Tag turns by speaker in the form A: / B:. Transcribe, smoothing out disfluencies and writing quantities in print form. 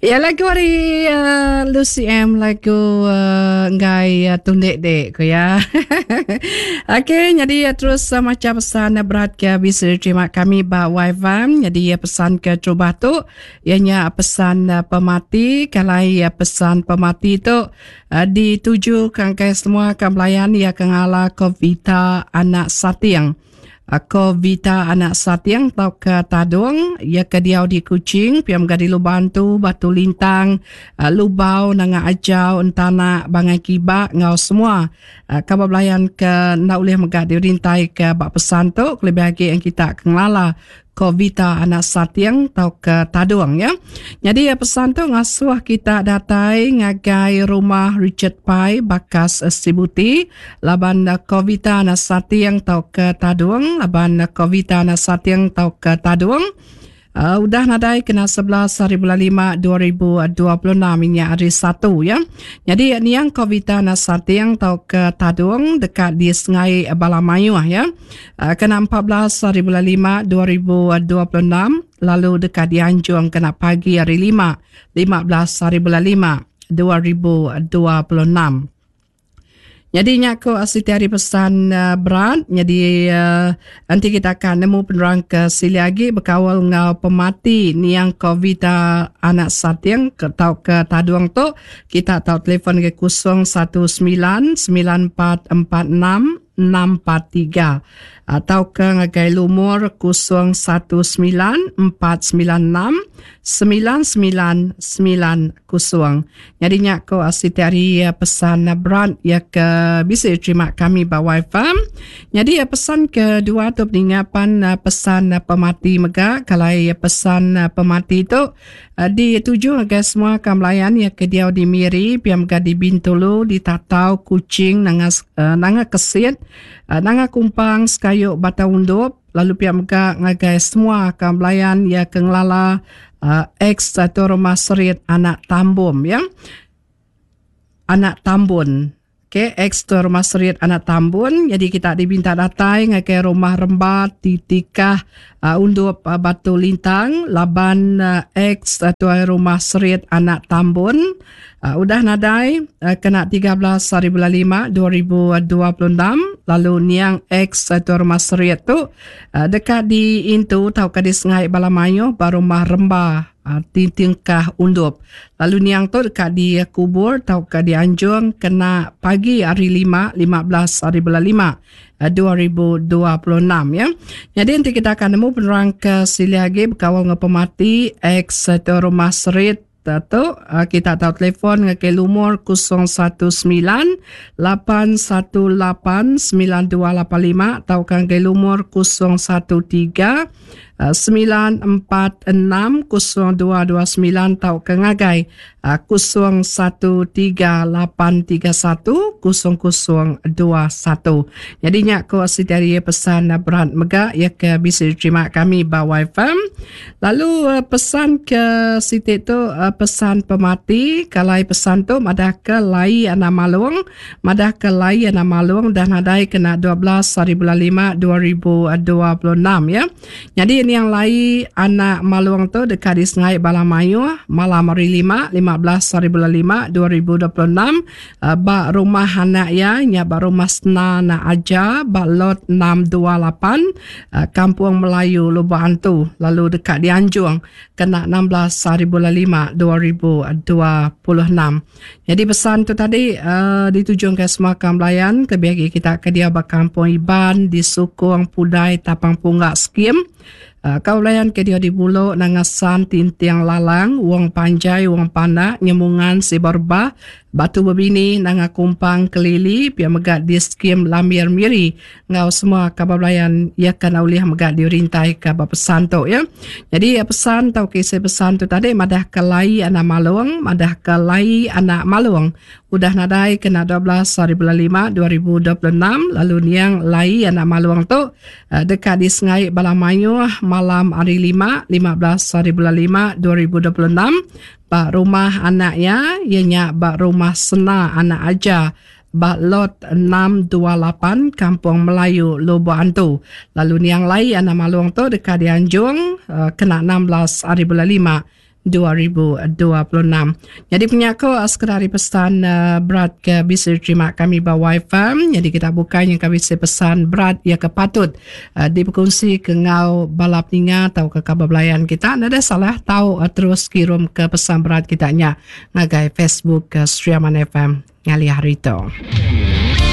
A: Ya lagu ari uh, Lucy M lagu uh, enggai uh, tundik dek ko ya. Okey jadi uh, terus uh, maca pesan uh, berat ke bisi diterima kami ba YFM jadi uh, pesan ke terubah tu ianya pesan uh, pemati kalai uh, pesan pemati tu uh, dituju ke angkai semua ke belayan ia ke ngala Kovita anak Sating. Ko Vita anak Sating tauka Tadung, iya ke diau di Kuching pia mega di Lubantu, Batu Lintang, Lubau, Nanga Ajau, Entanak, Bangai Kiba enggau semua kaban belayan ke enda ulih mega dirintaika ba pesan tu kelebih agi kita ke ngelala Ko Vita anak Sating tauka Tadung ya. Nyadi pesan tu ngasuh kita datai ngagai rumah Richard Pai Bakas Sibuti laban ko Vita anak Sating tauka Tadung laban ko Vita anak Sating tauka Tadung uh, udah nadai kena 11 hari bulan 5 2026 inya hari Satu ya. Nyadi niang ko Vita anak Sating tauka Tadung deka di Sengai Bala Mayuh ya. Kena 14 hari bulan 5 2026 lalu deka dianjung kena pagi hari 5 15 hari bulan 5 2026. Nyadi nya ko siti hari pesan uh, berat nyadi uh, enti kita akan nemu penerang ke sili agi bekaul enggau pemati niang Covita anak Sating ke tau ke Tadung tu kita tau telefon ke 019 9446 643 tauka ngagai lumur 019 496 9990. Nyadi nya ko siti ari pesan berat ya ke bisi diterima kami ba WiFi. Nyadi pesan kedua tu peninga pan pesan pemati mega kalai pesan pemati tu Dituju ngagai semua ka belayan iya ke diau di Miri pia mega di Bintulu, di Tatau, Kuching, Nanga Nanga Kesit, Nanga Kumpang, Sekayu Batang Undup lalu pia mega ngagai semua ka belayan iya ke ngelala ex Tuai Rumah Serit anak Tambom iya. Anak Tambun. Ok, ex tu Rumah Serit Anak Tambun. Jadi kita dibinta datai ngagai Rumah Remba ti tikah uh, Undup uh, Batu Lintang laban uh, ex uh, tuai Rumah Serit Anak Tambun uh, udah nadai uh, kena 13 hari bulan 5 2026 lalu niang ex uh, tuai Rumah Serit tu uh, deka diintu tauka disengai bala mayuh ba Rumah Remba ti tingkah Undup. Lalu niang tu deka dikubur tauka dianjung kena pagi hari Lima, 15 hari bulan 5, 2026 ya. Nyadi enti kita akan nemu penerang ke silih agi bekaul enggau pemati ex tu Rumah Serit tu kita tau telefon ngagai lumur 019 818 9285 tauka ngagai lumur 013 946 0229 tauka ngagai 013 831 0021. Nyadi nya ko siti ari pesan berat mega iya ke bisi diterima kami ba YFM. Lalu pesan ke siti tu pesan pemati kalai pesan tu madah ke lai anak malung Madah ke lai anak malung dah nadai kena 12 hari bulan 5 2026 ya. Nyadi niang lai anak malung tu deka disengai bala mayuh malam hari 5 15 hari bulan 5 2026 eh, ba rumah anak iya nya ba rumah Sena Anak Aja ba lot 628 eh, Kampung Melayu Lubok Antu lalu deka dianjung kena 16 hari bulan 5 2026. Nyadi pesan tu tadi uh, ditujungka semua kaum belayan kelebih agi kita ke diau ba kampung Iban di Sukong Pudai Tapang Pungga Skim. Uh, kaum belayan ke diau di Bulok Nanga San Tinting Lalang Wong Panjai Wong Pandak Nyemungan Siba Rebah Batu Bebini Nanga Kumpang Kelili pia mega di Skim Lambir Miri enggau semua kaban belayan iya ke enda ulih mega dirintaika ba pesan tu ya. Jadi pesan tauka isi pesan tu tadi madahka lai anak malung, madahka lai anak malung udah nadai kena 12 hari bulan 5 2026 lalu niang lai anak malung tu eh, deka disengai bala mayuh malam hari 5 15 hari bulan 5 2026 ba rumah anak iya iya nya ba rumah Sena anak Aja ba Lot 628 Kampung Melayu Lubok Antu. Lalu niang lai anak malung tu deka dianjung uh, kena 16 hari bulan 5 2026. Nyadi penyaku sekeda ari pesan berat ke bisi diterima kami ba WiFi. Nyadi kita bukai nyangka bisi pesan berat iya ke patut dipekunsi ke enggau bala peninga tauka kaban belayan kita. Nadai salah tau terus kirum ke pesan berat kita nya ngagai Facebook Sri Aman FM ngalih hari tu.